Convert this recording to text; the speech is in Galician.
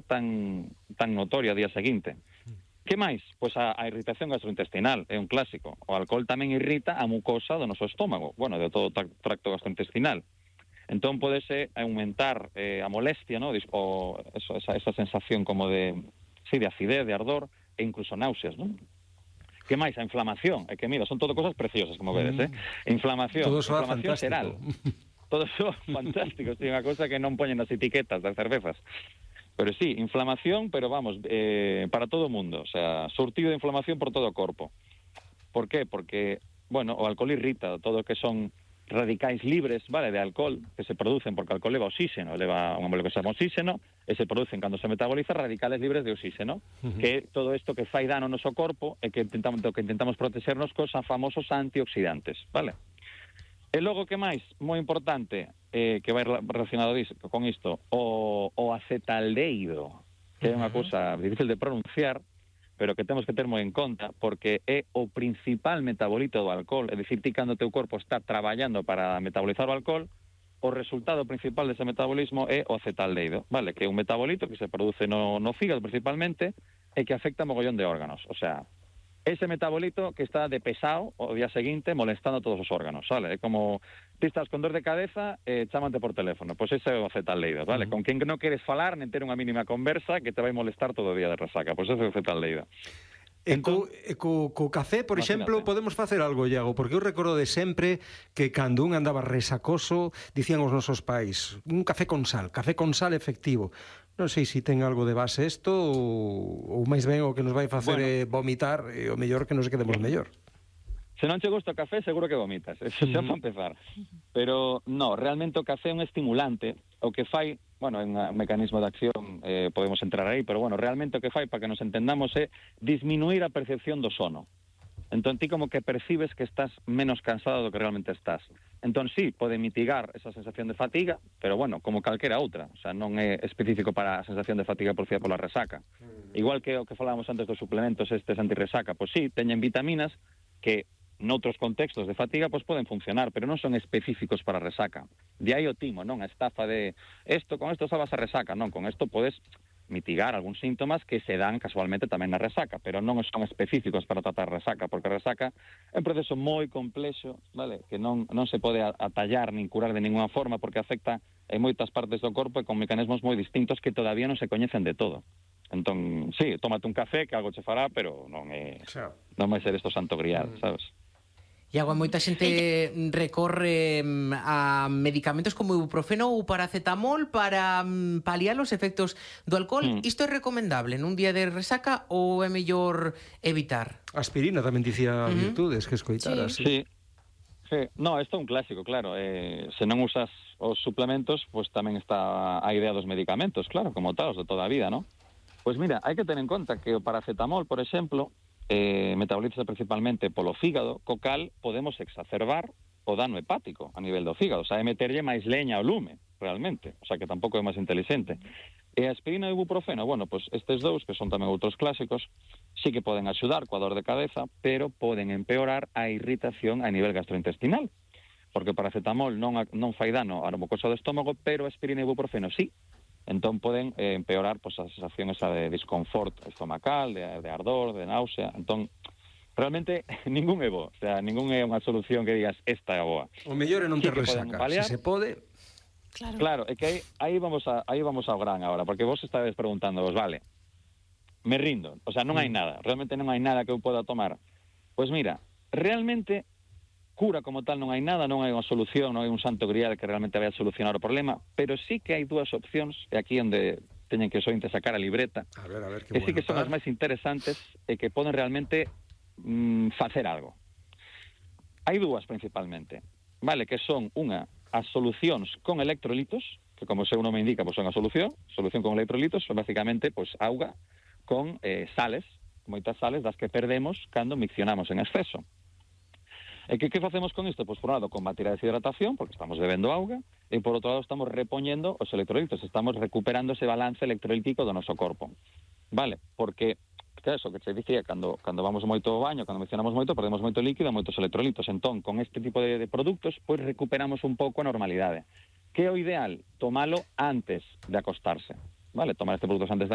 tan notorio ao día seguinte. Que máis? Pois a irritación gastrointestinal é un clásico. O alcohol tamén irrita a mucosa do noso estómago, bueno, de todo o tracto gastrointestinal. Entón podese aumentar a molestia, ¿no? Esa sensación como de acidez, de ardor e incluso náuseas, ¿no? Que máis? A inflamación. É que, mira, son todo cosas preciosas, como vedes, Inflamación, todo soa inflamación fantástico. xeral. Todo soa fantástico, sí, unha cousa que non poñen nas etiquetas das cervezas. Pero sí, inflamación, pero vamos, para todo o mundo. O sea, surtido de inflamación por todo o corpo. Por qué? Porque, bueno, o alcohol irrita todo o que son radicais libres, vale, de alcohol, que se producen porque o alcohol leva oxígeno, leva un molécula que se chama oxígeno, e se producen cando se metaboliza radicales libres de oxígeno, que é todo isto que fai dano ao noso corpo e que intentamos protegernos cos famosos antioxidantes, vale? E logo, que máis? Moi importante, que vai relacionado con isto, o acetaldehido, que é unha cousa difícil de pronunciar, pero que temos que ter moi en conta, porque é o principal metabolito do alcohol. É dicir, ti cando o teu corpo está traballando para metabolizar o alcohol, o resultado principal dese metabolismo é o acetaldehido, vale? Que é un metabolito que se produce no fígado principalmente e que afecta a mogollón de órganos. O sea, ese metabolito que está de pesado o día seguinte molestando a todos os órganos, vale? É como ti estás con dor de cabeza e chámate por teléfono, pois ese é o acetaldehido, vale? Con quen non queres falar nen ter unha mínima conversa que te vai molestar todo o día de resaca, pois ese é o acetaldehido. E co café, por exemplo, podemos facer algo, Iago, porque eu recordo de sempre que cando un andaba resacoso, dicían os nosos pais, un café con sal efectivo. Non sei se ten algo de base isto ou máis ben o que nos vai facer é vomitar e o mellor que nos quedemos mellor. Se non che gusta o café, seguro que vomitas, eso xa para empezar. Pero, no, realmente o café é un estimulante, o que fai, bueno, é un mecanismo de acción, podemos entrar aí, pero, bueno, realmente o que fai, para que nos entendamos, é disminuir a percepción do sono. Entón, ti como que percibes que estás menos cansado do que realmente estás. Entón, sí, pode mitigar esa sensación de fatiga, pero, bueno, como calquera outra. O sea, non é específico para a sensación de fatiga producida pola resaca. Igual que o que falábamos antes dos suplementos estes antirresaca, pois sí, teñen vitaminas que noutros contextos de fatiga pois poden funcionar, pero non son específicos para a resaca. De aí o timo, non? A estafa de con isto salvas a resaca, non, con isto podes mitigar algúns síntomas que se dan casualmente tamén na resaca, pero non son específicos para tratar resaca, porque a resaca é un proceso moi complexo, vale? Que non se pode atallar nin curar de ninguna forma porque afecta en moitas partes do corpo e con mecanismos moi distintos que todavía non se coñecen de todo. Entón, sí, tómate un café que algo che fará, pero non vai ser isto santo grial, sabes? Iago, moita xente recorre a medicamentos como ibuprofeno ou paracetamol para paliar os efectos do alcohol. Isto é recomendable nun día de resaca ou é mellor evitar? Aspirina tamén dicía virtudes que escoitaras. Sí. No, isto é un clásico, claro. Se non usas os suplementos, pois tamén está a idea dos medicamentos, claro, como tal, os de toda a vida, non? Pois mira, hai que ter en conta que o paracetamol, por exemplo, metabolízase principalmente polo fígado, co cal podemos exacerbar o dano hepático a nivel do fígado, o sea, é meterlle máis leña ao lume, realmente, o sea, que tampouco é máis inteligente. E a aspirina e o ibuprofeno, bueno, pois estes dous, que son tamén outros clásicos, sí que poden axudar coa dor de cabeza, pero poden empeorar a irritación a nivel gastrointestinal, porque o paracetamol non fai dano á mucosa do estómago, pero a aspirina e o ibuprofeno sí. Entón poden empeorar pois, a sensación esa de disconfort estomacal, de ardor, de náusea. Entón, realmente, ningún é bo. O sea, ningún é unha solución que digas, esta é a boa. O mellor é non ter resaca, se se pode. Claro, é que aí vamos ao gran agora, porque vos estades preguntando, vale, me rindo, o sea, non hai nada, realmente non hai nada que eu poda tomar. Pois mira, realmente cura como tal non hai nada, non hai unha solución, non hai un santo grial que realmente vai a solucionar o problema, pero sí que hai dúas opcións, e aquí onde teñen que sointe sacar a libreta, a ver, que sí que son as máis interesantes e que poden realmente facer algo. Hai dúas principalmente, vale, que son unha, as solucións con electrolitos, que como o seu nome indica, pois son a solución con electrolitos, son basicamente pois auga con sales, moitas sales das que perdemos cando miccionamos en exceso. E que facemos con isto? Pois por un lado combatir a deshidratación, porque estamos bebendo auga, e por outro lado estamos repoñendo os electrolitos, estamos recuperando ese balance electrolítico do noso corpo. Vale? Porque, que eso que te dicía, cando vamos moito ao baño, cando mencionamos moito, perdemos moito líquido, moitos electrolitos. Entón, con este tipo de produtos, pois recuperamos un pouco a normalidade. Que é o ideal? Tomalo antes de acostarse. Vale? Tomar este produtos antes de